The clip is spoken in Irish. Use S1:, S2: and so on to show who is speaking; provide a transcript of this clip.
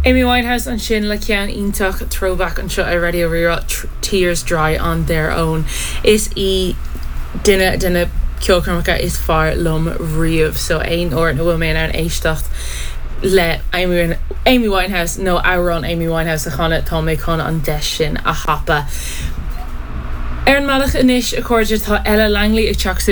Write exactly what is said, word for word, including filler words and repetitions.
S1: Amy Winehouse ansin le ceann iontach throwback anseo ar Raidió Rí-Rá Tears Dry on Their Own. Is í duine de na ceolchoirmeacha is fearr liom riamh so aon uair a bhfuil mé in ann éisteacht le Amy, Amy Winehouse nó amhrán Amy Winehouse a chanadh tá mé chun an deis sin a thapú. Ar an mbealach anois a chairde tá Ella Langley ag teacht suas